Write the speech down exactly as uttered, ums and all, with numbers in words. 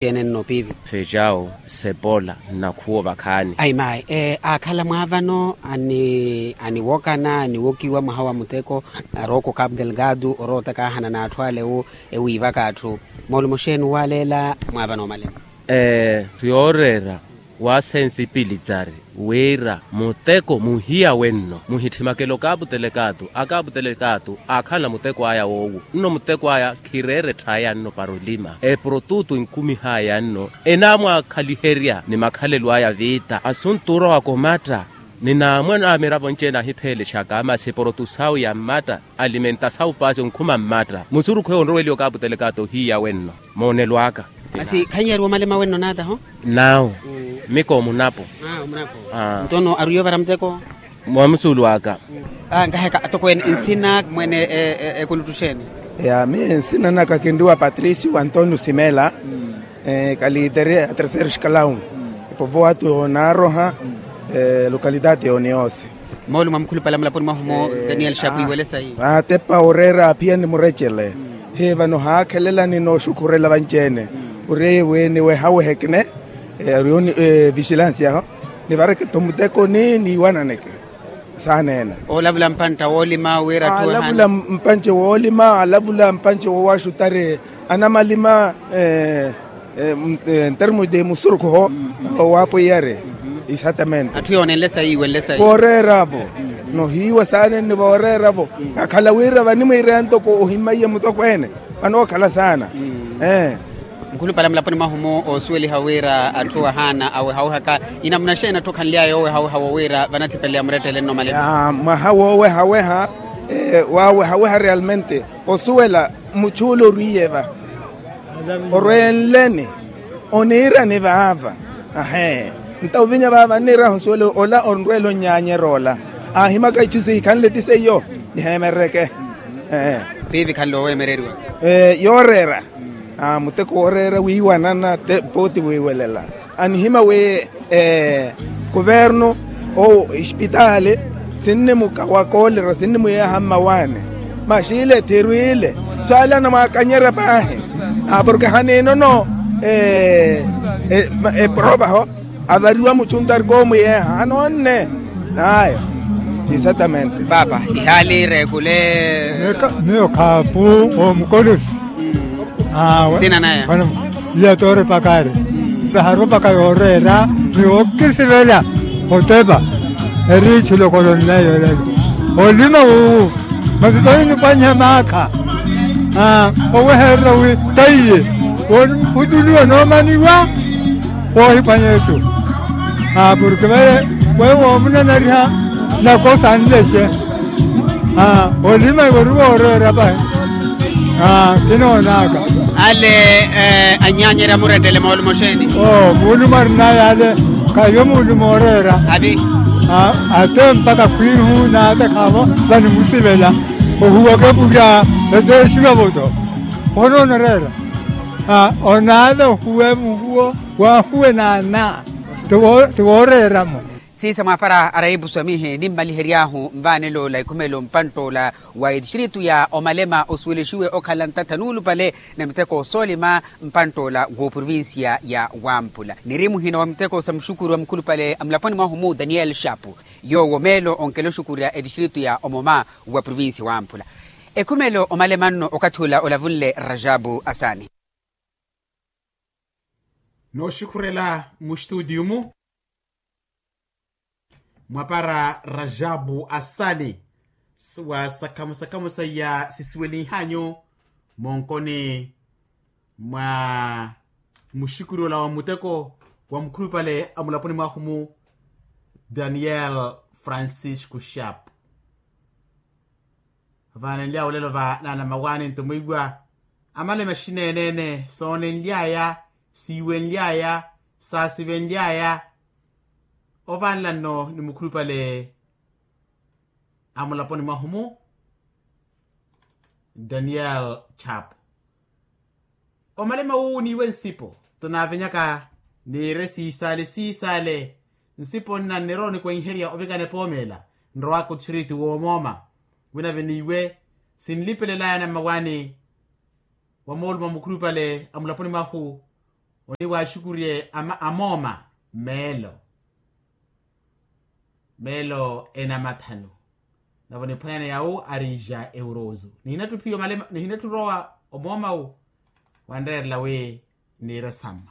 Ene nno piipi. Fejawo, sepola, nnakhuwa ovakhaani. Ayi mayi aakhala mwaavano aniwokana aniwokiwa mwaha wa muteko, arooko kapu delgado orootaka ahana n'atthu ale ewiivaka atthu. Moolumo xeeni owaaleela mwaavano omalema? Ee, yooreera, waasensipilitsari wira muteko muhiya wenno muhittimakela okaaputelekaatu akaaputelekaatu aakhala muteko aya woowo. Nno muteko aya khireera etthaya nno para olima eprotutu enkumihaya nno enaamwaakhaliherya ni makhalelo aya viita asuntu orowa komatta. Ni naamwe na miravo nci-ene ahipheelexaka masi eprotusawu ya mmatta alimentasawu paasi onkhuma mmatta musurukhu eyo onroweliwa okaaputelekaatu ohiya wenno. Moonelo aka. Masi khanyaariwa omalema wenno naataho? Naawo. Miko omunapo. Nto-no ari yovara muteko? Mwa musuulu aka. Nkaheka atokweene nsina mwene ekuluttu xeeni? Ya miyo nsina naka kinriwa patricio antonio simela. Kalitere a terceiro escalão. Epovoatu yoonaroha. Lokalidade yooniyose. Moolumo mwa mukhulupale a mulaponi mwahu-mo daniel xapu iwelesa iyi. Atepa oreera aphiyani murecele. Hii vano haakhelelani nooxukhurela vanci-ene. Ori eye wi niwehawehekene ari yo vigilancia aho nivareketho mutekoni niiwananeke. Saaneena. Oolavula mpantta woolima wira atthu alavula mpantte woolima alavula mpantte woowaxutari anamalima. Ntermos de musurukhu oho. Owaapweiyari. Exatamente. Atthu yoonenle sayi iwenle sayi. Vooreera-vo. Nohiiwa saanenni vooreera-vo. Kakhala wira vanimwiireya ntoko ohimmaiye mutokweene vanookhala saana. Mukhulupale mulaponi mwahu-mo oosuweliha wira atthu ahaana awehawehaka. Inamuna xeeni atthu khanly'aya yoowehaweha wo wira vanathipeleya murettele nno malelo? Mwaha woowehaweha. Waawehaweha realmente osuwela muchuula orwiiye va orwenleni oniirani vaava. Ahee. Nto ovinya vaava nniirahu nsuwela ola onrweela onnyaanyerya ola aahimaka ichu sihikhanle ti seiyo. Niheemerereke. Piipi khanle oweemereriwa yooreera. Muteko wooreera wiiwanana pooti wiiwelela. Anihima wi kuvernu owo espitaali sinnimukawa koolera sinnimuyeeha mmawaani. Maxile thirwile swali anamwaakanyerya paahi. Porke haniinono eprovaho avariwa muchuntu ari koomuyeeha anoonne. Aya. Exatamente. Paapa ihaali reekule. Miyo khaapu omukolosi. Awe. Sina naya. Iya toorepakari. Vaharu mpakha yooreera ni wookisivela otepa. Eri ichulokolo nneyo lelo olima wuwu. Masi toyi nipwanyiha maakha owehererya wi taiye wootuluwa noomaniwa. Woohipwanyetu. Porke vale weyo woomunanariha nakosa nlexe. Olima iwe ori wooreera vahi. Kinoonaka. Ale anyaanyerya murettele moolumo xeeni? Muulumo arinaya ale. Khayo muulumo ooreera. Ati. Ate mpakha khwiihu naatekhaavo vanimusivela ohuwaka epurya. Eteexiwa voto. Onoonereera. Onaala ohuwe muhuwo waahuwe naana. Ti wooreeramo. Siisa mwaapara arayipuso amihi nimmalihery'ahu nvaanelo la ikhumelo mpantt'ola wa etistritu ya omalema osuwelexiwe okhala ntattha nuulupale na miteko soolima mpantt'ola w'oprovincia ya wamphula niri muhina wa miteko sa muxukuru wa mukhulupale mulaponi mwahu-mu daniel xapu. Yoowo meelo onkela oxukurya etistritu ya omoma wa provincia wamphula. Ekhumelo omalema nno okathi ula olavunle rajabu asani. Nooxukhurela muxituutiyu-mu mwapara rajabu asani. Wa sakhamu sakhamu saiya sisuwelinhanyu monkoni mwa muxukuri ola wa muteko wa mukhulupale a mulaponi mwahu-mu daniel francisco xapu. Vaanenly'aya olelo va naanamawaani nto mwiiwa amale maxineeneene soonenly'aya siiwenly'aya saasivenly'aya. Ovaanela nno ni mukhulupale a mulaponi mwahu-mu daniel chapu. Omalema wuwo niiwe nsipo tonaavenyaka niire siisaale siisaale. Nsipo nna nnirowa onikwenherya ovikana epoomeela nrowaka otthiriti woomooma. Winave niiwe sinlipelelaya nammawaani wa moolumo a mukhulupale a mulaponi mwahu Oniwaaxukurye amooma meelo meelo enamathanu. Navo niphwanyana yawu arija eurozu nihinattu phiyo malema nihinattu rowa omoomawu. Wanreerela wi niire samma.